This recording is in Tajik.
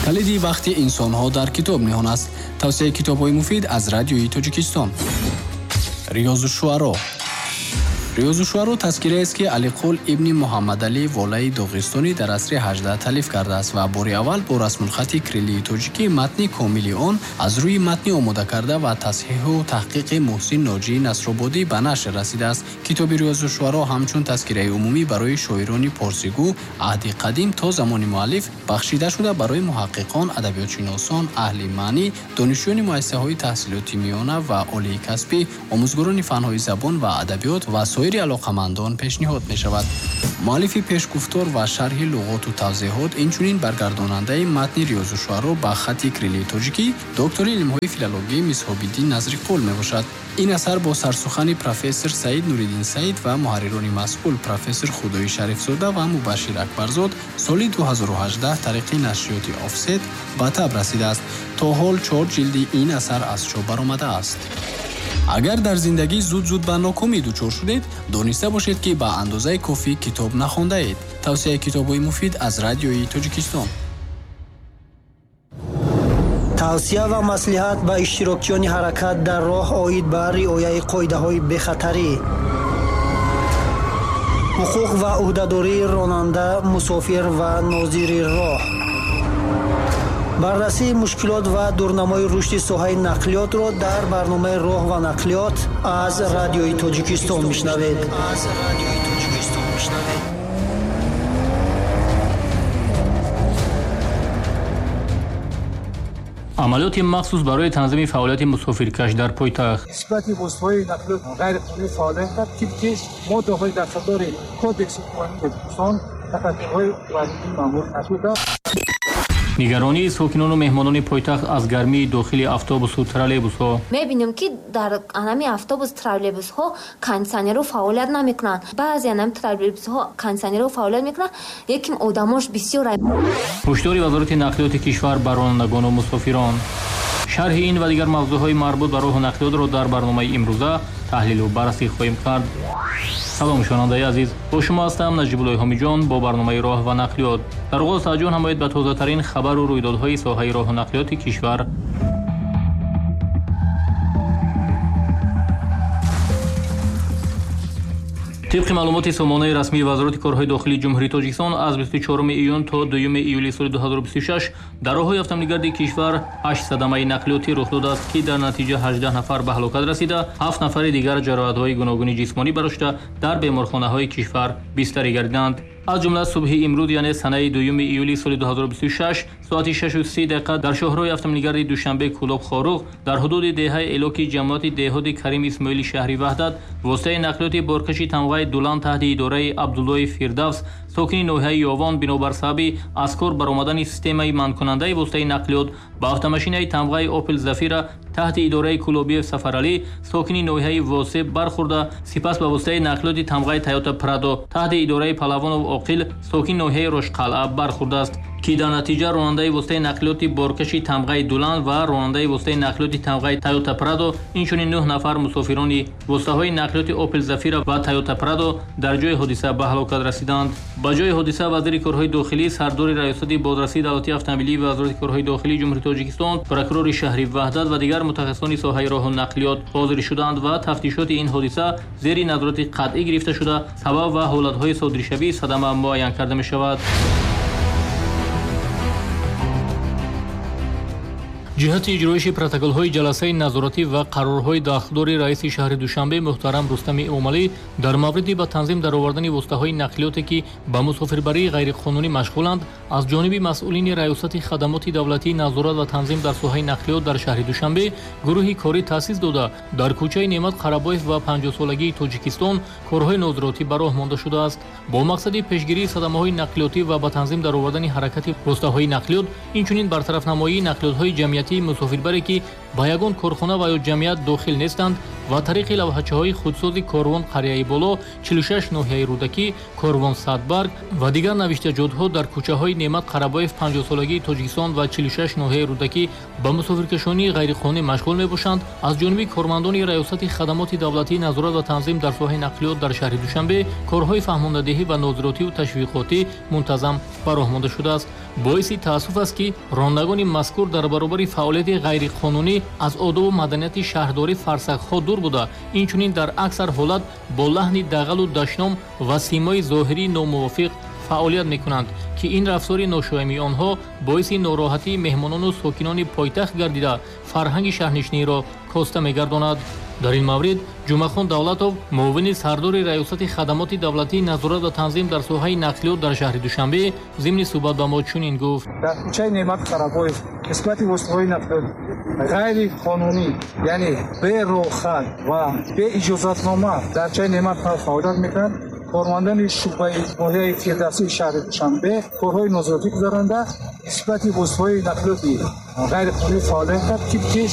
Калиди бахти инсонҳо дар китоб ниҳон аст. Тавсияи китобҳои муфид аз Радиои Тоҷикистон. Риёзу шуаро. Риёзу шуаро тазкираест, ки Алиқул ибни Муҳаммадалӣ Волаи Доғистонӣ дар асри 18 таълиф кардааст ва бори аввал бо расмулхати кириллии тоҷикӣ матни комили он аз рӯи матни омодакарда ва тасҳиҳу таҳқиқи Муҳсин Ноҷии Насрободӣ ба нашр расидааст. Китоби Риёзу шуаро ҳамчун тазкираи умумӣ барои шоирони порсигӯ аҳди қадим то замони муаллиф бахшида шуда, барои муҳаққиқон, адабиётшиносон, аҳли маънӣ, донишҷӯёни муассисаҳои таҳсилоти миёна ва олии касбӣ, омӯзгорони фанҳои забон ва адабиёт ва соири алоқамандон пешниҳод мешавад. Муаллифи пешгуфтор ва шарҳи луғоту тавзеҳот, инчунин баргардонандаи матни Риёзу шуаро ба хати кириллии тоҷикӣ доктори илмҳои филологӣ Мисҳобиддин Назриқул мебошад. Ин асар бо сарсухани профессор Саид Нуриддин Саид ва муҳаррирони масъул профессор Худои Шарифзода ва Мубашшир Акбарзод соли 2018 тариқи нашриёти Офсет ба таб расидааст. То ҳол 4 ҷилди ин асар аз чоп баромадааст. Агар дар зиндагӣ зуд-зуд ба нокомӣ дучор шудед, дониста бошед, ки ба андозаи кофӣ китоб нахондаед. Тавсияи китобҳои муфид аз Радиои Тоҷикистон. Тавсия ва маслиҳат ба иштирокчиёни ҳаракат дар роҳ оид ба риояи қоидаҳои бехатарӣ, ҳуқуқ ва ӯҳдадории ронанда, мусофир ва нозири роҳ, баррасии мушкилот ва дурнамои рушди соҳаи нақлиётро дар барномаи «Роҳ ва нақлиёт» аз Радиои Тоҷикистон мешунавед. Амалиёти махсус барои танзими фаъолияти мусофиркаш дар пойтахт. Нисбати воситаҳои нақлиёт ғайриқонунӣ фаъолият кард, тибқи моддаҳои дахлдори Кодекси қонунии Тоҷикистон тадбирҳои вазифии маъмур нашуда. Нигаронии сокинону меҳмонони пойтахт аз гармии дохили автобусу троллейбусҳо. Мебинем, ки дар анами автобус, троллейбусҳо кондитсионерҳо фаъолият намекунанд. Баъзе анами троллейбусҳо кондитсионерҳо фаъолият мекунанд, лекин одамош бисёр. Ҳушдори Вазорати нақлиёти кишвар ба ронандагону мусофирон. Шарҳи ин ва дигар мавзӯъҳои марбут ба роҳу нақлиётро дар барномаи имрӯза таҳлилу баррасӣ хоҳем кард. Салом, шунавандаи азиз, бо шумо ҳастам Наҷибуллои Ҳомиҷон бо барномаи «Роҳ ва нақлиёт». Дар оғоз таваҷҷӯҳ намоед ба тозатарин хабару рӯйдодҳои соҳаи роҳу нақлиёти кишвар. Тибқи маълумоти сомонаи расмии Вазорати корҳои дохилии Ҷумҳурии Тоҷикистон, аз 24 июн то 2 июли соли 2026 дар роҳҳои автомобилгарди кишвар 8 садамаи нақлиётӣ рух додааст, ки дар натиҷа 18 нафар ба ҳалокат расида, 7 нафари дигар ҷароҳатҳои гуногуни ҷисмонӣ бардошта, дар беморхонаҳои кишвар бистарӣ гардиданд. Аз ҷумла субҳи имрӯз, яъне санаи 2 июли соли 2026, соати 6:30 дар шоҳроҳи автомобилгарди Душанбе Кӯлоб Хоруғ дар ҳудуди деҳаи Элоки ҷамоати деҳоти Карим Исмоили шаҳри Ваҳдат воситаи нақлиёти боркаши тамғаи Дулан таҳти идораи Абдуллои Фирдавс, сокини ноҳияи Ёвон, бинобар сабаби аз кор баромадани системаи манъкунандаи воситаи нақлиёт ба автомашинаи тамғаи Опел Зафира таҳти идораи Кулобиев Сафаралӣ, сокини ноҳияи Восе бархӯрда, сипас ба воситаи нақлиёти тамғаи Тойота Прадо таҳти идораи Палавонов Оқил, сокини ноҳияи Рошқалъа бархӯрдааст, ки дар натиҷа ронандаи воситаи нақлиёти боркаши тамғаи Дулан ва ронандаи воситаи нақлиёти тамғаи Тойота Прадо, инчунин 9 нафар мусофирони воситаҳои нақлиёти Опел Зафира ва Тойота Прадо дар ҷои ҳодиса ба ҳалокат расиданд. Ба ҷои ҳодиса вазири корҳои дохилӣ, сардори Раёсати бозрасии давлатии автомобилии Вазорати корҳои дохилии Ҷумҳурии Тоҷикистон, прокурори шаҳри Ваҳдат ва дигар мутахассисони соҳаи роҳу нақлиёт ҳозир шуданд ва тафтишоти ин ҳодиса зери назорати қатъӣ гирифта шуда, сабаб ва ҳолатҳои содиршавии садама муайян карда мешавад. Ҷиҳати иҷроиши протоколҳои ҷаласаи назоратӣ ва қарорҳои дахлдори раиси шаҳри Душанбе муҳтарам Рустами Эмомалӣ дар мавриди ба танзим даровардани воситаҳои нақлиёте, ки ба мусофирбарии ғайриқонунӣ машғуланд, аз ҷониби масъулини Раёсати хадамоти давлатии назорат ва танзим дар соҳаи нақлиёт дар шаҳри Душанбе гурӯҳи корӣ таъсис дода, дар кӯчаи Неъмат Қарабоев ва 50-солагии Тоҷикистон корҳои нозиротӣ ба роҳ монда шудааст. Бо мақсади пешгирии садамаҳои нақлиётӣ ва ба танзим даровардани ҳаракати воситаҳои нақлиёт, инчунин бартарафнамоии нақлиётҳои ҷамъиятии мусофирбаре, ки ба ягон корхона ва ё ҷамъият дохил нестанд, Ва тариқи лавҳачаҳои худсози «Корвон Қарияи Боло», 46 ноҳияи Рӯдакӣ, «Корвон Садбарг» ва дигар навиштаҷотҳо дар кӯчаҳои Неъмат Қарабоев, 50-солагии Тоҷикистон ва 46 ноҳияи Рӯдакӣ ба мусофиркашонии ғайриқонунӣ машғул мебошанд, аз ҷониби кормандони Раёсати хадамоти давлатии назорат ва танзим дар соҳаи нақлиёт дар шаҳри Душанбе корҳои фаҳмондадиҳӣ ва нозиротиву ташвиқотӣ мунтазам ба роҳ монда шудааст. Боиси таассуф аст, ки ронандагони мазкур дар баробари фаъолияти ғайриқонунӣ аз одобу маданияти шаҳрдорӣ фарсахҳо дур буда, инчунин дар аксар ҳолат бо лаҳни дағалу дашном ва симои зоҳирии номувофиқ фаъолият мекунанд, ки ин рафтори ношоямии онҳо боиси нороҳатии меҳмонону сокинони пойтахт гардида, фарҳанги шаҳрнишиниро коста мегардонад. Дар ин маврид Ҷумъахон Давлатов, муовини сардори Раёсати хадамоти давлатии назорат ва танзим дар соҳаи нақлиёт дар шаҳри Душанбе, зимни суҳбат ба мо чунин гуфт: Дар кӯчаи Неъмат Қарабоев нисбати воситаҳои нақлиёт ғайриқонунӣ, яъне берохат ва беиҷозатнома дар кӯчаи Неъмат фаъолият мекунанд, кормандони шӯъбаи ноҳияи Фирдавсии шаҳри Душанбе корҳои нозиротӣ гузаронда, нисбати воситаҳои нақлиёти ғайриқонунӣ фаъолият кард, тибқи